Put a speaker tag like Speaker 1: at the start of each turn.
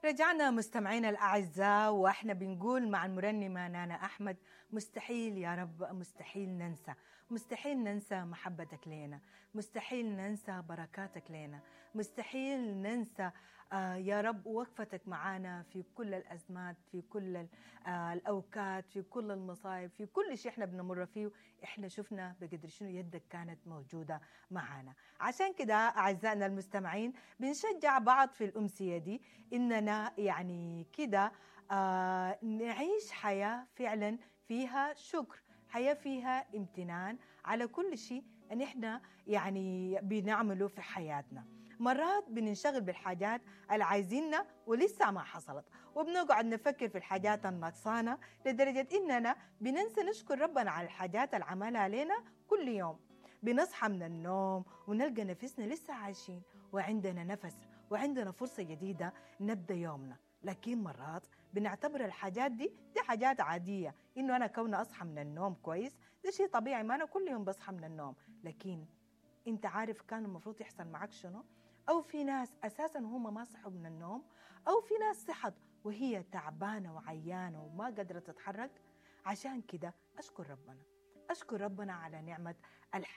Speaker 1: رجعنا مستمعينا الأعزاء، وإحنا بنقول مع المرنمة نانا أحمد: مستحيل يا رب، مستحيل ننسى، مستحيل ننسى محبتك لنا، مستحيل ننسى بركاتك لنا، مستحيل ننسى يا رب وقفتك معانا في كل الأزمات، في كل الأوقات، في كل المصايب، في كل شيء احنا بنمر فيه. احنا شفنا بقدر شنو يدك كانت موجودة معانا. عشان كده أعزائنا المستمعين بنشجع بعض في الأمسية دي إننا يعني كده نعيش حياة فعلا فيها شكر، حياة فيها امتنان على كل شيء ان احنا يعني بنعمله في حياتنا. مرات بننشغل بالحاجات اللي عايزينها ولسه ما حصلت، وبنقعد نفكر في الحاجات النقصانة لدرجة إننا بننسى نشكر ربنا على الحاجات اللي عملها لنا كل يوم. بنصحى من النوم ونلقى نفسنا لسه عايشين وعندنا نفس وعندنا فرصة جديدة نبدأ يومنا، لكن مرات بنعتبر الحاجات دي حاجات عادية، إنه أنا كون أصحى من النوم كويس ده شيء طبيعي، ما أنا كل يوم بصحى من النوم. لكن أنت عارف كان المفروض يحصل معك شنو؟ أو في ناس أساساً هم ما صحوا من النوم، أو في ناس صحت وهي تعبانة وعيانة وما قدرت تتحرك. عشان كده أشكر ربنا، أشكر ربنا على نعمة الحياة.